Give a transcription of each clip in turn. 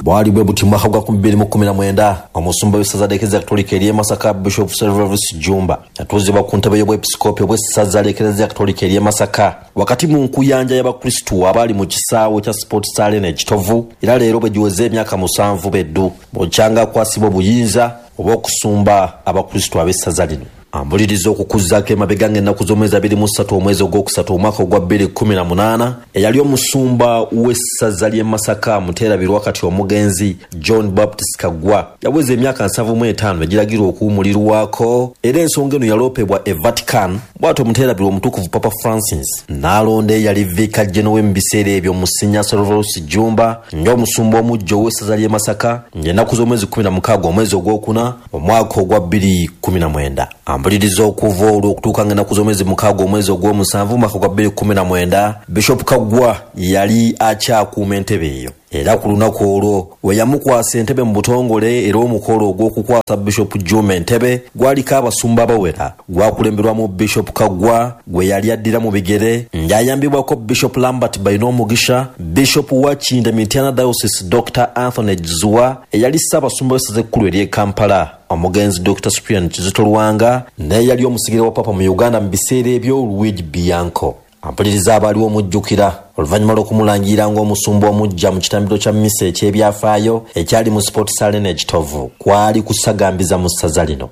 Bwali bwe buti mwaka gwa 2019 omusumba w'essaza ly'Eklezia Katolika ery'e Masaka Bishop Serverus Jjumba yatuuzibwa ku ntebe y'obwepisikoopi obw'essaza ly'Eklezia Katolika ery'e Masaka wakati mu nkuyanja y'Abakristu abaali mu kisaawe kya Sports Arena e Kitovu, era leero bwe giweze emyaka 7 beddu bw'okyanga akwasibwa obuyinza obw'okusumba Abakristu ab'essaza lino. Ambuliriza okukuzzaako emabega ng'ennaku z'omwezi 23 omwezi ogwokusatu omwaka ogwa 2018 eyali omusumba w'essaza ly'e Masaka Muteerabirwa kati omugenzi John Baptist Kaggwa yaweza emyaka 75 egiragirwa okuwumulirwako, era ensonga eno yaloopebwa e Vatican. Bw'atyo Muteerabirwa omutukuvu Papa Francis n'alonda eyali Vicar General mu biseera ebyo Monsignor Serverus Jjumba ng'omusumba omuggya ow'essaza ly'e Masaka ng'ennaku z'omwezi 16 omwezi ogwokuna omwaka ogwa 2019. Ambuliriza okuva olwo okutuuka ng'ennaku z'omwezi 6 omwezi ogw'omusanvu omwaka gwa 2019 Bishop Kaggwa yali akyakuuma entebe eyo, era ku lunaku olwo we yamukwasa entebe mu butongole. Era omukolo ogw'okukwasa Bishop Jjumba entebe gwaliko abasumba abawera, gwakulemberwamu Bishop Kaggwa gwe yali addira mu bigere ng'ayambibwako Bishop Lambert Bainomugisha, Bishop wa Kinda Mityana Diocese Dr. Anthony Zziwa, eyali ssaabasumba w'essaza ekkulu ery'e Kampala omugenzi Dr. Cyprian Kizito Lwanga, naye yali omusigire wa Papa mu Uganda mu biseera ebyo Luigi Bianco. Ampuliriza abaaliwo omujjukira oluvannyuma lw'okumulangira ng'omusumba omuggya mu kitambiro kya mmisa eky'ebyafaayo ekyali mu Sports Arena e Kitovu. Kwali kusagambiza mu ssaza lino.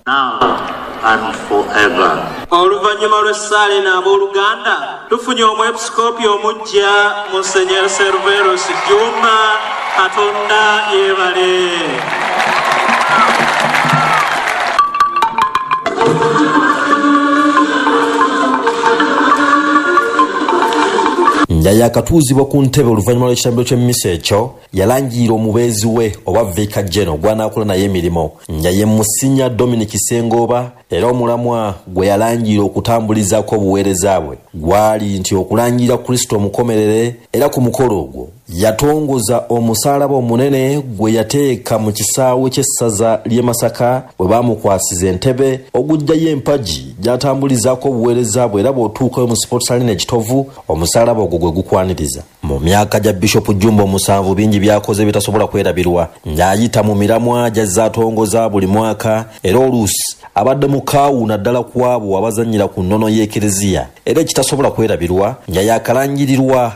Oluvannyuma lw'essaala eno abooluganda tufunye omwepisikoopi omuggya Monsignor Serverus Jjumba. Katonda yeebale. Nga yakatuuzibwa ku ntebe oluvannyuma lw'ekitambiro ky'emmisa ekyo, yalangira omubeezi we oba Vicar General gw'anaakola naye emirimu nga ye Monsignor Dominic Sengooba, era omulamwa gwe yalangira okutambulizaako obuweereza bwe gwali nti okulangira Kristo omukomerere. Era ku mukolo ogwo yatongoza omusaalaba omunene gwe yateeka mu kisaawe ky'essaza ly'e Masaka bwe baamukwasiza entebe, oguggyayo empagi gy'atambulizaako obuweereza bwe, era bw'otuukayo mu Sports Arena e Kitovu omusaalaba ogwo gwe gukwaniriza. Mu myaka gya Bishop Jjumba omusanvu bingi by'akoze bitasobola kwerabirwa ng'ayita mu miramwa gy'azze atongoza buli mwaka, era oluusi abadde mukaawu naddala ku abo abazannyira ku nnono y'Ekereziya, era ekitasobola kwerabirwa nga yakalangirirwa.